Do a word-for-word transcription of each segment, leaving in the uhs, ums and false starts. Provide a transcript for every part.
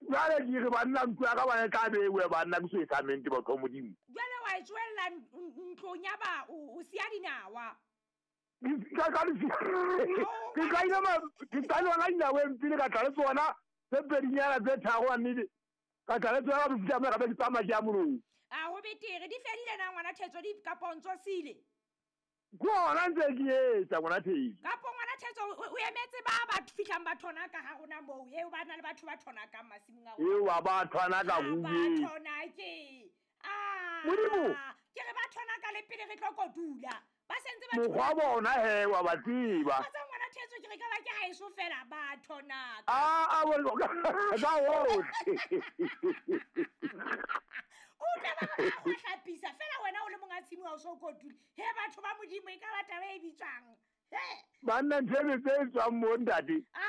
Jwale ke re banna ntlo ya ka bana e tla bewe banna ke so e samente batho ba Modimo. Jwale wa e tswella ntlong ya ba o siya dinawa. Ka ka ke kaile ma ke tla lona dinaweng pele ka tla le tsona tse pedinyana tse tharo wa nnete. Ka tla le tsona ka fihla ka be ke tsamaya ke ya molong. A ho betere di fedile na ngwana Thetso di kapo ntso sile. Ke hona ntse ke etsa ngwana Thetso. Kapo ngwana Thetso o emetse ba ba fihlang ba thona ka ha rona moo eo ba na le batho ba thona ka masimong a rona. Eo ba ba thona ka ba thona ke. Ah. Modimo. Ke re ba thona ka le pele re tlo kotula. Ba sentse ba mokgwa bona he wa ba tseba. Ba tsa ngwana Thetso ke re ka ba ke ha eso fela ba thona. Ah ah ka otlhe. O tla ba ba go hlapisa fela wena o le monga tshimo ha o so kotule. He batho ba Modimo e ka ba taba e bitswang. He. Banna ntse tse tswang mo ntate. Ah,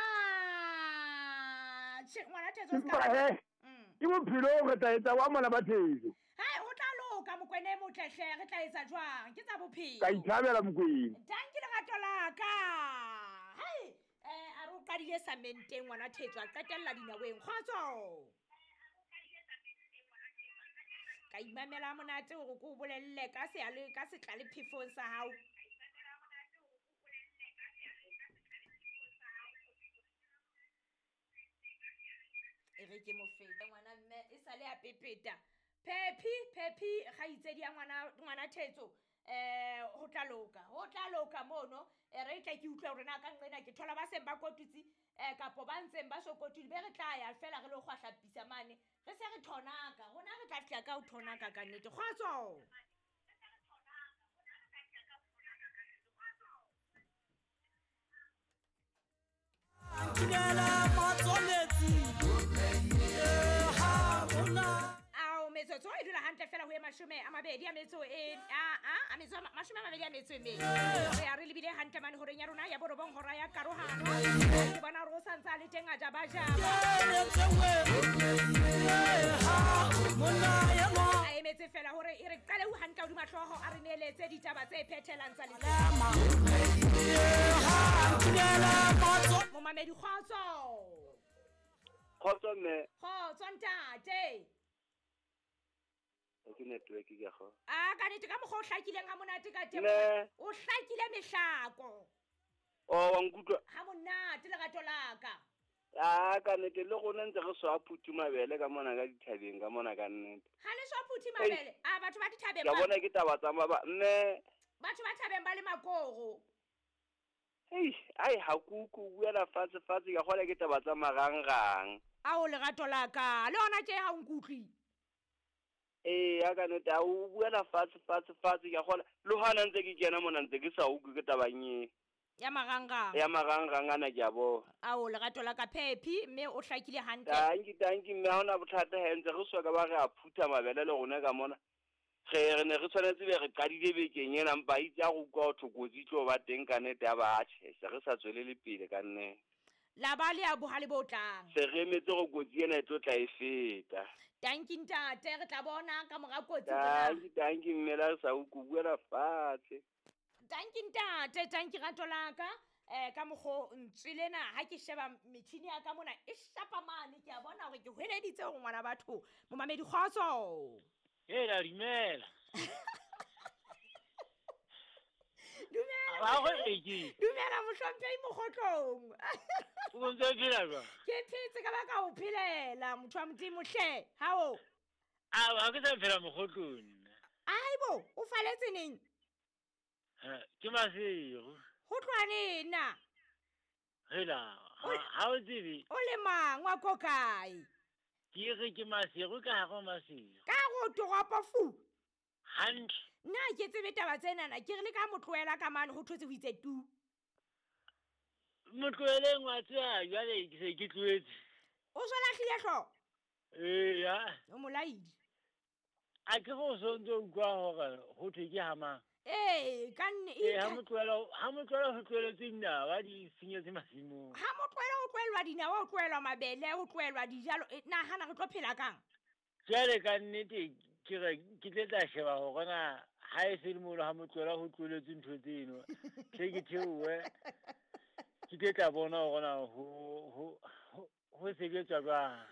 che ngwana Thetso ska. Ke bophelo re tla etsa wa mona ba Thetso. Hai ho tla loka Mokwena e motle hle re tla etsa jwang ke tsa bophelo. Ka ithabela Mokwena. Danki lerato la ka. Hai eh a re o qadile samenteng ngwana Thetso a qetella dinaweng. Kgotso. Ka imamela monate hore ke o bolelle ka se le ka setla le phefong sa hao. E re ke mo feta ngwana mme e sale a pepeta. Phephi Phephi kgaitsedi ya ngwana ngwana Thetso eh ho tla loka ho tla loka mono e re tla ke utlwa hore na ka nqena ke thola ba seng ba kotutsi eh kapo ba ntseng ba so kotule be re tla ya fela re lo kgwahlapisa mane re se re thonaka rona re tla fihla ka ho thonaka ka nnete. Kgotso. Ao metsotso e dula hantle fela ho e mashome a mabedi a metso e a a a metso mashome a mabedi a metso e mene. Re a re lebile hantle mane horeng ya rona ya borobong hora ya karohano. Ke bona hore o santse a le teng a jaba jaba. A emetse fela hore e re qale ho hantle hodima hlooho a re neeletse ditaba tse phethelang tsa letsatsi. Momamedi kgotso. Kgotso mme. Kgotso ntate. Ke network ke go. Ah ka nnete ka mokgwa o hlakileng ha monate ka teng. O hlakile mehlako. Oh wa nkutlwa. Ha monate lerato la ka. Ah ka nnete le rona ntse re swa phuthi mabele ka mona ka dithabeng ka mona ka nnete. Ha le swa phuthi mabele. Ah batho ba dithabeng ba. Ke bona ke taba tsa maba mme. Batho ba thabeng ba le makoro. Hei, ai ha kuku buela fatshe fatshe ka gola ke taba tsa marangrang. Ao lerato la ka le hona tje ha o nkutlwi. Eh ya ka nnete a o buela fatshe fatshe fatshe ka gola le hona ntse ke kena mona ntse ke sa utlwe ke tabang e. Ya marangrang. Ya marangrang ana ke a bona. Ao lerato la ka Phephi mme o hlakile hantle. Tanki tanki mme ha ona bothata he ntse re swa ka ba re a phutha mabele le rona ka mona. Re re ne re tshwanetse be re qadile bekeng ena mpa itse a go utlwa ho thokotsi tlo ba teng ka nnete ya ba tjhe se re sa tswelele pele ka nne. La ba le ya bohale bo tlang. Se re emetse go kotsi ena e tlo tla e feta. Tanki ntate re tla bona ka mora kotsi. Tanki tanki mme la sa o buela fatshe. Tanki ntate tanki rato la ka eh ka mokgo ntswile na ha ke sheba metjhini ya ka mona e shapa mane ke a bona hore ke hweleditse hore ngwana batho momamedi kgotso. Hela dumela. Dumela. Ba go eke. Dumela mohlomphehi Mokgotlong. O ntse o phela jwang? Ke phetse ka baka o phelela motho wa Modimo hle. Hao. A ha ke sa phela Mokgotlong. Aibo, o faletse neng? Ha, ke Maseru. Ho tloha neng na? Hela, ha o tsebe. O le mang wa ko kae? Ke re ke Maseru ka hare ho Maseru. Ka go toropo fu. Hantle. Nna ke tsebe taba tsena ke re le ka motlohela ka mane ho thotse ho itse tu. Motloheleng wa tseba jwale ke se ke tlohetse. O so lahlile hlooho? Ee ya. O molaidi. A ke go so ntse o utlwa hore ho thwe ke hamang. Ee, ka nne e ha motlohela ha motlohela ho tlohelletse dinawa di senyetse masimong. Ha motlohela ho tlohellwa dinawa, ho tlohellwa mabele, ho tlohellwa dijalo, nahana re tlo phela kang? Jwale ka nnete ke re ke tle tla sheba hore na ha e se le molo ha motlohela ho tlohelletse ntho tseno. Tle ke theohe. Ke tle tla bona hore na ho ho ho sebetswa jwang.